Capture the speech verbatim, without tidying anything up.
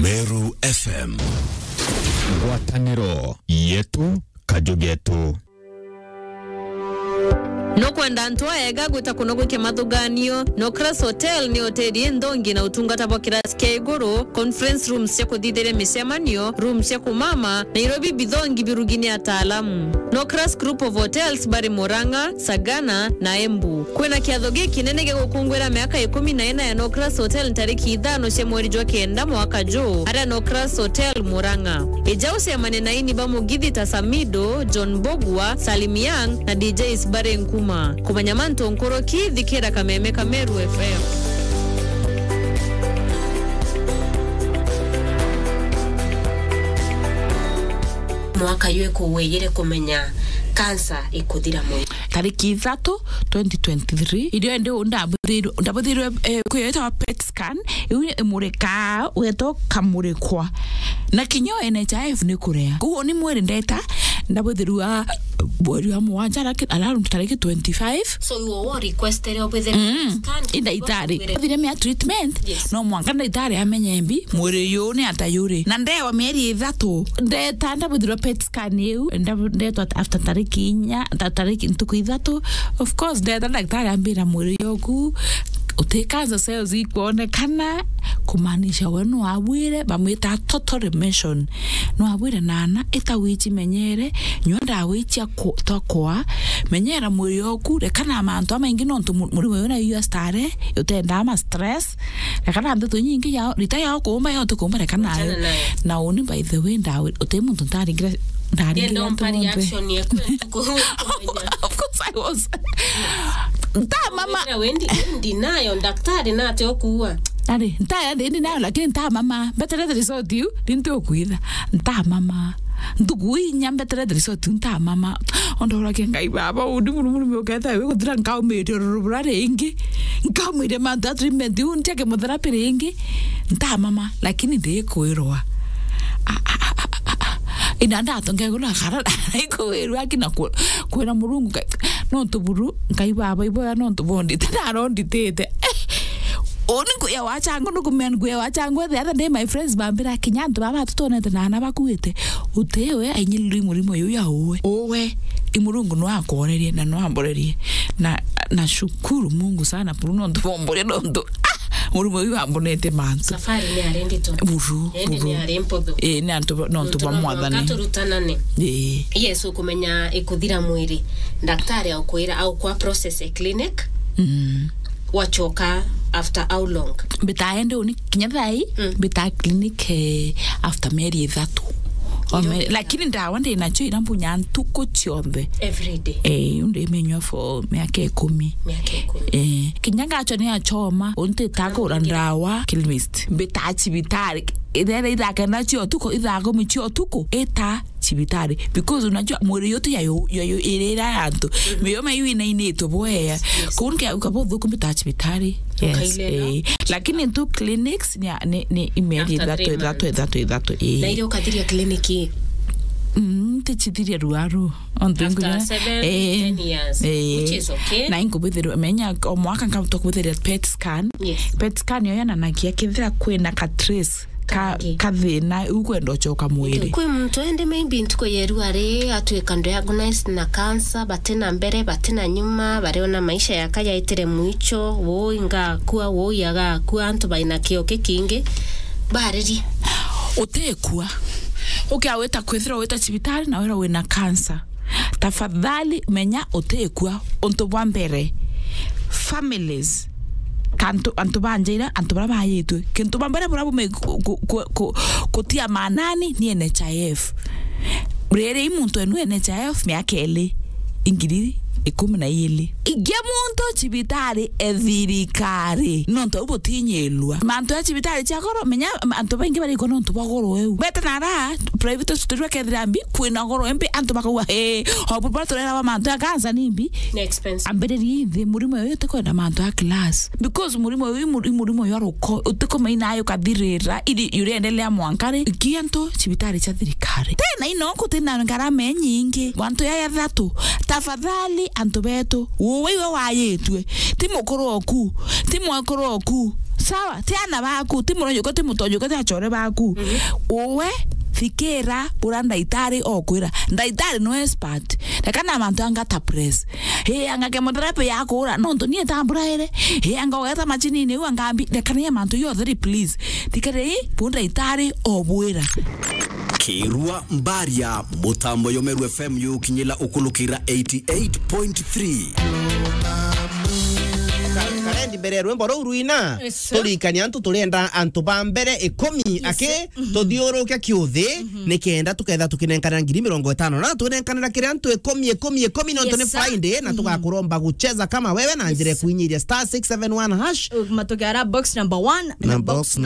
Meru F M. Ngwataniro yetu, kaju getu. Nukwenda antu aega gwita kuno gwikia mathuganio? Nocras Hotel ni hoteli inthongi na utungata bwa kirasi kia iguru, conference rooms cia kuthithiria micemanio, rooms cia kumama, na irio bibithongi birugi ni ataalamu. Nocras Group of Hotels bari Murang'a, Sagana na Embu. Kwina kiatho gikinene gia gukunguira miaka ikumi na ina ya Nocras Hotel ntariki ithano cia mweri jwa kenda mwaka juu, aria Nocras Hotel Murang'a. Ija ucemane na aini ba mugithi ta Samido, John Mbugua, Salim Young na D Js bari Nkuma. Kumenya mantu nkuruki, thikira Kameme ka Meru F M. Mwaka jwi kuwiyire kumenya kansa ikuthira mwiri. Tariki ithatu, twenty twenty-three, irio ndi ndabuthirwe, ndabuthirwe, eh, kwiyetwa PET scan, iu imurikaa, ugeta ukamurikwa. Na kinya N H I F ni kurea. Koguo ni mwiri ndeta, ndabuthirwa mweri wa mugwanja, laki-, around tariki twenty-five. So, you were requested obwithire Mm. scan, I ndagitari. Obwithire mea treatment, Yes. no mwanka ndagitari amenye mbi, mwiri uyu ni ata yuri. Na ndewa mieri ithatu, ndeta ndabuthirwa PET scan iu, ndabu-, ndetwa after tariki inya, ta-, tariki ntuku ithatu. Of course, ndeta ndagitari ambira mwiri yoku, uti cancer cells ikwonekana, kumaanisha we nwabwire, bamwita total remission. Nwabwire nana, ita wici menyere, nyua ndawa icia ku-, twa kwa, menyera mwiri oku, rekana na mantu amaingi nontu mu-, murimo uyu na U S tare, utendaa ma stress, rekana na ndeto inyingi yao, rita yao kuumba yao tukuumba rekana nayo. Wachana nayo. Na uni by the way ndawi, uti muntu ntaringire, ndaringire Ndienda antu umpa bonthe. Reaction yeku ya tuku-, kumenya. Of course I was. Nta mama. Wira wendi, wendi nayo, daktari nate okuua. Ari, nta ya ndi nayo, lakini nta mama. Mbeterete result iu, ni nti ukwitha. Nta mama. Ntuku inya mbeterete result iu, nta mama. Ondoragia Ngai baba, undi muru muru miuketa, we guthira nkaumiria ururu bura ringi. Nkaumiria mantu ya treatment iu, ntiake mutherapy ringi. Nta mama, lakini ndikwirwa. Ah, ah, ah, ah, ah, ah. Ina ndatonge gula kara, ikwirwa akina ku-, kwira Murungu, Ngai, nontu buru, Ngai baba, iboya nontu bondite, naronditite. Eh, uni nguya wa changu, nukumea nguya wa changu, the other day my friends bambira, kinya antu baba tutonete na ana bakuite, utiwe ainyililwe i murimo yu ya uwe. Uwe, i Murungu no akworerie na no amborerie. Na, na shukuru Mungu sana, buru nontu bomboria nontu, ah, murimo yu ambonete mantu. Safari ni ari ndito. Buru, Indi buru. ni ari mputhu. Eh, ni antu ba-, nontu Nontu ba no mwathani. mwanka turutanane. Eh. Yes, ukumenya ikuthira mwiri. Daktari aukwira, aukwa process e clinic. Mm. Wachoka after how long? Mbitaende uni kinya thai, Mm. mbita clinic, eh, after mieri ithatu. Ino Ome-, lakini ndawa ndi nacio ira mbunya ntuku cionthe. Every day? Eh, undi minywa for miaka ikumi. Miaka ikumi. Eh, kinya ngacho ni achoma, unti takura ndawa, chemist. Mbita cibitari. Ithera ithaa kenda cia utuku, ithaa kumi cia utuku, ita cibitari. Because unajua, mwiri yote ya yo, ya yo, irira ya antu. Miyo mayu inainitwe bwea. Yes. Kuu nkia ukabuthuku mbita cibitari. Yes. Ukailera. Eh. Lakini tu clinics ni, ni, ni imeri After ithatu, three ithatu, months. ithatu, ithatu, eh. Na ile ukathiria clinic ii? Mm, tichithiria ruaru. Ontu After nguya, seven, eh, ten years, eh, which is okay. Na inkubithirwa, menya, o mwaka nkabutwa kubithiria PET scan. Yes. PET scan yo yananagia kethira kwina ka trace ka, Kangi. ka thina, u kwenda uchoka mwiri. Kwi muntu ende maybe ntuku yeru ari atwika diagnosed na cancer, batina mbere, batina nyuma, bariona maisha yaka yaitire mwicho, woi ngakua, woi agakua, antu baina kio kikingi, baririe. Utikua. Ukia wita kwithira wita cibitari na wira wina cancer. Tafadhali menya utikua. Untu bwa mbere, families, kantu, antu banjaira, antu bara bayitwe. Kintu bwa mbere bura bume ku-, ku-, ku-, ku-, kutia maanani ni N H I F. Riri i muntu enu N H I F miaka iri, ingiri ikumi na iri. Ingia muntu cibitari e thirikari. Nontu au butinyilua. Mantu ya cibitari cia goro, menya antu baingi barikwa nontu bwa goro eu. Bete nara, private hospital bakethira mbi, kwina goro embi, antu bakauga, "Hey, obu baturera ba mantu ya cancer ni mbi." Ni expensive. Ambiriria ithi, murimo uyu utikwenda mantu ya class. Because murimo uyu i muri-, i murimo uyu aruko, utikumaina ayo kathirira, iri uriendelea mwanka ri, ikiantu cibitari cia thirikari. Tena ino kutina ngarama inyingi, wantu ya ya thatu. Tafadhali, antu betu, uwe iwe wayitwe, ti mukuru oku, ti mwekuru oku, Sawa, ti ana baku, ti murojuka, ti mutojuka, ti achore baku. Uwe, thikira, ura ndaitari okwira. Ndaitari no expert. Reka na mantu anga ta press. He, anga chemotherapy ya kura, nontu nie tambura ere. He, anga ogeta machinini u angambi, reka ni mantu yo theri, please. Thikira, bu ndaitari obwira. Kirua Mbaria, mutambo yomeru F M yukinyila ukulukira eighty eight point three. Ka-, karendi mbere ya rwimbo ruu rwina, yes, sir, turikania antu turenda antu ba mbere ikumi, yes, aki, sir, tuthiuruke kiuthi, nikenda tuketha tukinenkana ngiri mirongo itano na twinenkanira kiri antu ikumi, ikumi, ikumi, nontu ni Friday, na tugakuromba gucheza kama wewe na njira ya kuinyiria star six seven one hash. Matuke ara box number one na box